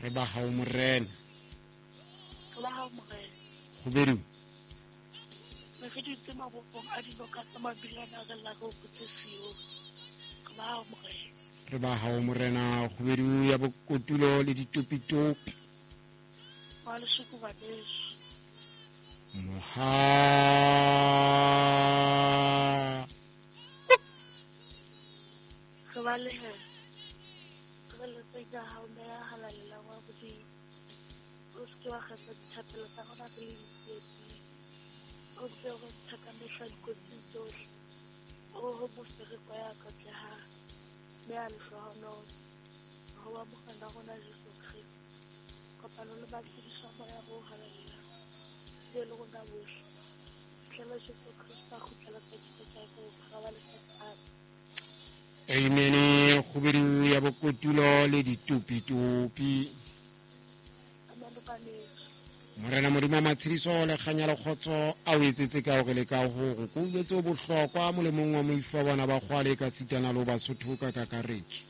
Re ba hao Morena. Re ba hao Morena. Kgubedu. Ne re dutse mabopong a dinoka tsa mabilana re lla re hopotse Sione. Re ba hao Morena. Re ba hao Morena, kgubedu ya bokotulo le ditopitopi. Wa leshoko baneso. Moha. Re balehela. Re letseng ya hao Meya a Halalelang wa Modimo. O se ke wa kgetha dithapelo tsa rona re le ditsietsing. O ntse o re ntsha ka mehla dikotsing tsohle. O ho mofereko ya katlehang, mme a lehlohonolo. Ho wa Morena rona Jesu Kreste. Kopano le matshediso a Moya o Halalelang. Be le rona bohle. Fihlela Jesu Kreste a kgutlela pakeng tsa bophara ba lefatshe. Amen. Amen. Kgubedu ya bokotulo le ditopitopi. Amen baneso. Morena Modimo wa matshediso le kganya le kgotso a o etsetse ka hore le ka hore ko uetse o bohlokwa molemong wa moifo wa bona ba kgwale ka sitana le ho Basotho ka kakaretso.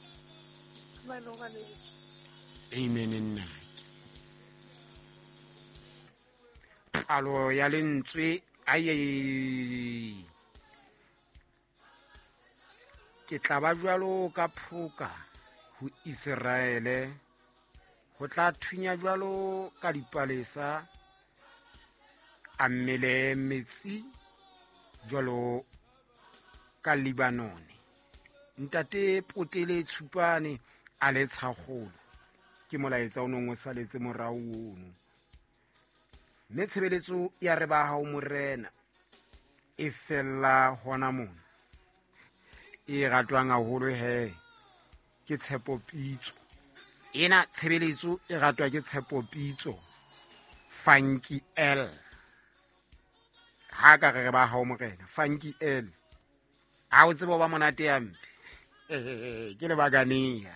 Amen baneso. Amen nnake. Palo ya lentswe ai ke tla ba jwalo ka phoka ho Iseraele, ho tla thunya jwalo ka dipalesa, a mmele metsi jwalo ka Libanone. Ntate Potele Tshupane a le tshakgolo, ke molaetsa o nong o saletse morao ono. Mme tshebeletso ya re ba hao Morena e fella hona mona. E ratwang haholo he ke Tshepo Pitso. Ena tshebeletso e ratwa ke Tshepo Pitso, Funky L. Ha ka re re ba hao Morena, Funky L. Ha o tsebe ba monate ya mpe. Ke lebakanea.